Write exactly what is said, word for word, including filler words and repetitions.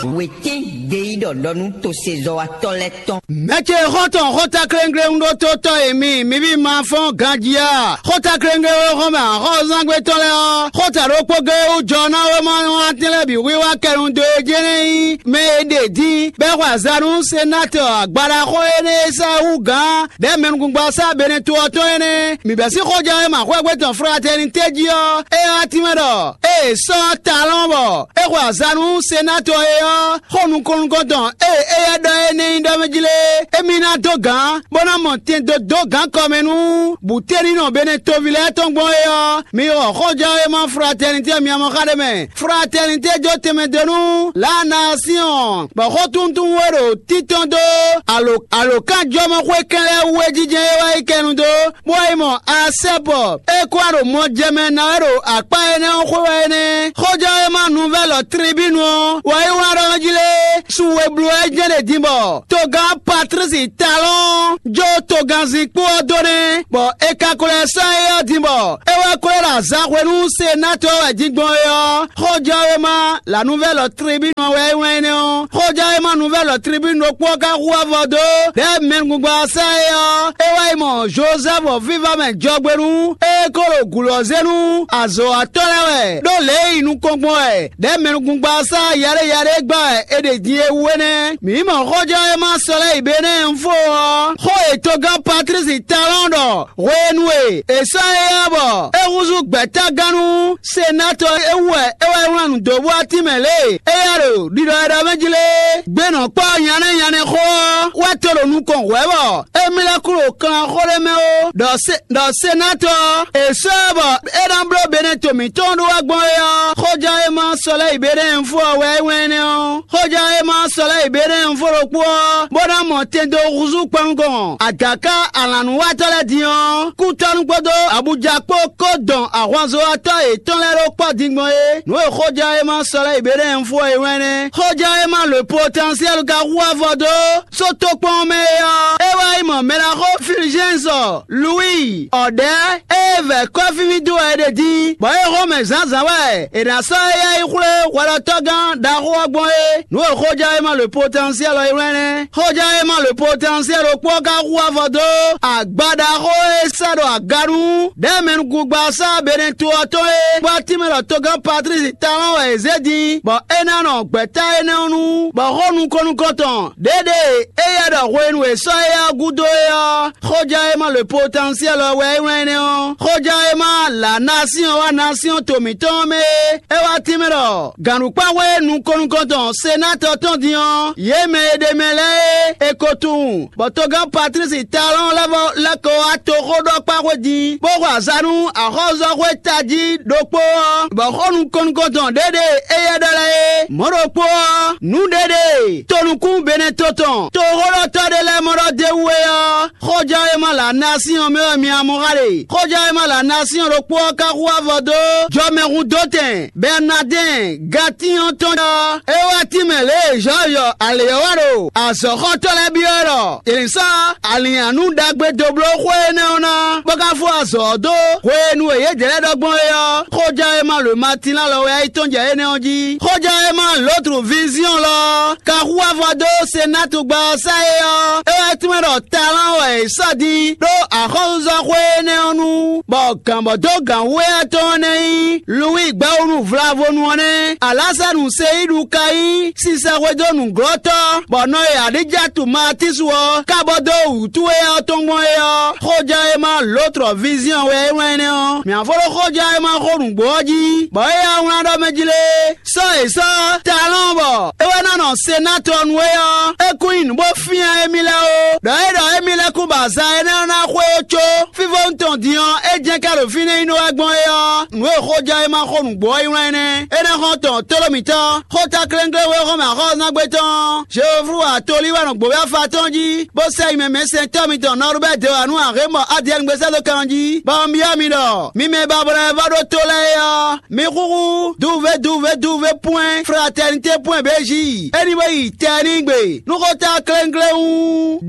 Wětín gbeyíɖɔ ɖɔ nú tosezɔ́watɔ́ lɛ́ɛ tɔn. Mɛ̌ ce xɔ́ntɔn xótákléŋglé ɖótótɔ́ e mi, mi ví ma fɔ́n ganjí a? Xótákléŋglé e xɔ́n mɛ axɔ́zángbé tɔn lɛ́ɛ ɔ́, xóta ɖokpó géé wú jɔ ná wéma ɔ́ atɛ́n lɛ́ɛ bǐ hwíhwá kɛnu dó e jɛ́n nɛ́ nyí mɛ e ɖe dín, bɔ é xwe azǎn nú Senatɔ agbaɖaxó énɛ́ e sɛ́ hú gǎn ɖɛ̌ mɛnukúngbasá Benɛto ɔ́ tɔn énɛ́. Mǐ bɛ́ sín xɔjɛ́ e ma xwɛ́gbe tɔn Fratɛnitɛ́ jí ɔ́, é ɔ́ ɔ́ tínmɛ ɖɔ ée è sɔ́ talɔn bɔ é xwe azǎn nú Senatɔ é ɔ́, xó nukɔn nukɔn tɔn e éyɛ́ ɖɔ é nɛ́ nyí ɖɔ mɛ jí lé, émí ná dó gǎn, bó ná mɔ tɛn dó dó gǎn kɔ mɛ nú bǔténinɔ Benɛtoví lɛ́ɛ tɔn gbɔn é ɔ́, mi xɔ xɔjɛ́ e ma Fratɛnitɛ́ miamɔ xa ɖé mɛ. Fratɛnitɛ́ jó tɛnmɛ dó nú Lanasiɔn, bɔ xɔ́ntúntún e ɖo títɔn dó alo alǒkanjɔmɔxwé kɛn lɛ́ɛ wú é jínjɛ́n é wá yi kɛnu dó, bó wá yi mɔ Asɛ́pɔ. É kó wá ɖo mɔ jɛ mɛ ná wɛ ɖo akpá énɛ́ ɔ́ xwé wɛ é nɛ́. Xɔjɛ́ e ma nuvɛ́lɔ Tribínu ɔ́ wá yi wlán ɖɔ jí lé, su e bló wɛ jɛ́n ɖe din bɔ togán Patlísi Talɔ́ɔn jó togánzin kpó ɔ́ dó nɛ́, bɔ è ka ko lɛ́ sɔ́ éyɛ́ ɔ́ din bɔ é wɛ ko lɛ́ ɖo azǎn hwenu Senatɔ wɛ din gbɔn é ɔ́, xɔjɛ́ e ma la nuvɛ́lɔ Tribínu ɔ́ wɛ é wlán énɛ́ ɔ́. Xɔjɛ́ e ma nuvɛ́lɔ Tribínu ɖokpó ɔ́ ka hu avɔ dó ɖɛ̌ mɛnugúngbasá sá é ɔ́, é wá yi mɔ Jozɛ́fu vívá mɛ jɔgbénu, é ko ɖo gǔlɔ zé nú azɔ̌watɔ́ lɛ́ɛ wɛ, ɖó lě e yi nukɔn gbɔn wɛ ɖɛ̌ mɛnukúngbasá yaɖé yaɖé gbá wɛ è ɖe din é wú é nɛ́. Mǐ mɔ xɔjɛ́ e ma Sɔlɛ́yi Benɛ́ɛnfo ɔ́, xó e togán Patlísi Talɔ́ɔn ɖɔ hwenu e è sɔ́ éyɛ́ ɔ́ bɔ é húzú gbɛ̌tágán nú Senatɔ é wú wɛ é wá wlán nǔ dó bó wá tínmɛ lě e éyɛ́ ɖo ɖiɖɔ e ɖɔ mɛ jí lé. Gbé nɔ kpɔ́ nyanɛ́ nyanɛ́ xó ɔ́ wɛ to ɖo nukɔn hwɛ̌ bɔ émí lɛ́ kú ɖo kanxó ɖé mɛ ó, ɖɔ se ɖɔ Senatɔ ɔ́, è sɔ́ ɛ bɔ é ná bló Benɛto mǐtɔn ɖó wá gbɔn é ɔ́, xɔjɛ́ e ma Sɔlɛ́yi Benɛ́ɛnfo ɔ́ wɛ é wlán énɛ́ ɔ́. Xɔjɛ́ e ma Sɔlɛ́yi Benɛ́ɛnfo ɖokpó ɔ́, bó ná mɔ tɛn dó húzú kpɔ́núgɔn agaká alǎnúwatɔ́ lɛ́ɛ din ɔ́, kútɔ́nú kpódó Abuja kpó kó dɔn ahwanzɔ́watɔ́ yětɔn lɛ́ɛ ɖó kpɔ́ din gbɔn é. Nǔ e xɔjɛ́ e ma Sɔlɛ́yi Benɛ́ɛnfo ɔ́ é wlán nɛ́. Xɔjɛ́ e ma le Potɛnsiɛ́lu ka hu avɔ dó sótókpɔ́n mɛ é ɔ́, é wá yi mɔ mɛɖaxó Filizɛ́nsɔ Luwíi ɔ̌ ɖɛ̌, ée vɛ̌ kɔ́fíví dó wɛ é ɖe dín, bɔ é xɔ́n mɛ zǎnzǎn wɛ è nǎ sɔ́ éyɛ́ yi xwlé hwɛɖɔtɔ́gán ɖaxó ɔ́ gbɔn é. Nǔ e xɔjɛ́ e ma le Potɛnsiɛ́lu ɔ́ é wlán nɛ́. Xɔjɛ́ e ma le Potɛnsiɛ́lu ɖokpó ɔ́ ka hu avɔ dó agba ɖaxó e sɛ́ ɖo aga nú ɖɛ̌ mɛnukúngbasá Benɛto ɔ́ tɔn é, bɔ atínmɛ ɖɔ togán Patlísi Talɔ́ɔn wɛ è zě din, bɔ é ná nɔ gbɛ̌ta énɛ́ ɔ́ nu, bɔ xó nukɔn nukɔn tɔn ɖěɖe e éyɛ́ ɖɔ hwenu e sɔ́ éyɛ́ ɔ́ gúdo é ɔ́, xɔjɛ́ e ma le Potɛnsiɛ́lu ɔ́ wɛ é wlán énɛ́ ɔ́. Xɔjɛ́ e ma la Nasiɔn wá Nasiɔn to mǐtɔn ɔ́ mɛ é, é wá tínmɛ ɖɔ gǎnɖukpáxwé nukɔn nukɔn tɔn Senatɔ tɔn din ɔ́, yě mɛ e ɖ'é mɛ lɛ́ɛ é, è ko tunwun, bɔ togán Patlísi Talɔ́ɔn lɛ́ vɔ lɛ́ ko wá toxóɖɔkpáxwé din, bó xwe azǎn nú axɔ́zɔ́xwé tají ɖokpó ɔ́, bɔ xó nukɔn nukɔn tɔn ɖěɖe éyɛ́ ɖɔ lɛ́ɛ é. Mɔ̌ ɖokpó ɔ́, nǔ ɖěɖe tonukún Benɛto tɔn toxóɖɔtɔ́ ɖé lɛ́ɛ mɔ ɖɔ d'é wú é ɔ́, xɔjɛ́ e ma la Nasiɔn mɛ wɛ mi amɔ xa ɖe. Xɔjɛ́ e ma la Nasiɔn ɖokpó ɔ́ ka hu avɔ dó jɔmɛhundótɛn Bɛrnadɛ́ɛn Gatínyɔ́ tɔn ɔ́, é wá tínmɛ lě e Zɔ́ɔyɔ alě ɔ́ wá ɖo azɔ̌xɔtɔ́ lɛ́ɛ byɔ́ wɛ ɖɔ è nǐ sɔ́ alǐnnyánú ɖagbe dó bló xó énɛ́ ɔ́ ná, bó ka fó azɔ̌ ɔ́ dó hwenu e yědɛɛ lɛ́ɛ ɖɔ gbɔn é ɔ́, xɔjɛ́ e ma lǒ Matín alɔ wɛ é yi tɔ́n jɛ énɛ́ ɔ́ jí. Xɔjɛ́ e ma Lotru Viziɔn lɔ ɔ́, ka hu avɔ dó Senatu gba ɔ́ sá é ɔ́, é wá tínmɛ ɖɔ talán wɛ è sɔ́ din ɖó axɔ́súzɔ́xwé énɛ́ ɔ́ nu, bɔ gǎn bɔ dó gǎn wú éyɛ́ tɔn ɔ́ nɛ́ nyí Luwíi gbɛ́wúnu Vlavonu ɔ́ nɛ́. Alásanu Seyíɖu ka nyí sisɛxwedó nǔglɔ́tɔ́, bɔ nɔ e Aɖíjatu Matísu ɔ́ ka bɔ dó wǔtu éyɛ́ ɔ́ tɔn gbɔn é ɔ́, xɔjɛ́ e ma Lotru Viziɔn wɛ é wlán énɛ́ ɔ́. Mǐ ná fó ɖó xɔjɛ́ e ma xó nǔgbó ɔ́ jí, bɔ éyɛ́ ɔ́ wlán ɖɔ mɛ jí lé. Sɔ́ è sɔ́ talɔn bɔ é wɛ ná nɔ Senatɔ nu é ɔ́, é kún nyí nǔ bó fyán émí lɛ́ɛ ó. Ɖɔ é ɖɔ émí lɛ́ɛ kún ba azan énɛ́ ɔ́ ná xwé ó có fífónu tɔn din ɔ́, é jɛ́n ká ɖo fínɛ́ nyí nú wɛ gbɔn é ɔ́, nǔ e xɔjɛ́ e ma xó nǔgbó ɔ́ yi wlán énɛ́. Énɛ́ xɔ́ntɔn Tolomítɔn, xóta klénkléwé xɔmɛ axɔ́súnágbé tɔn, Jehovu atolí wɛ nɔ gbǒ afa tɔn jí, bó sɛ nyi mɛ mɛ̌sɛntɔ́ mitɔn Nɔrubɛ́ dě wǎ nú Ahémɔ Adiɛnugbe sɛ́ dó kan jí, bɔ un byɔ́ mi ɖɔ mi mɛ e ba blɛ́ vɔ́ ɖó tó lɛ́ɛ é ɔ́, mi xúxú duve duve duve pwɛ́n fratɛnité pwɛ́n bějí, é ní bó yi tɛnígbe nú xóta klénkléwún.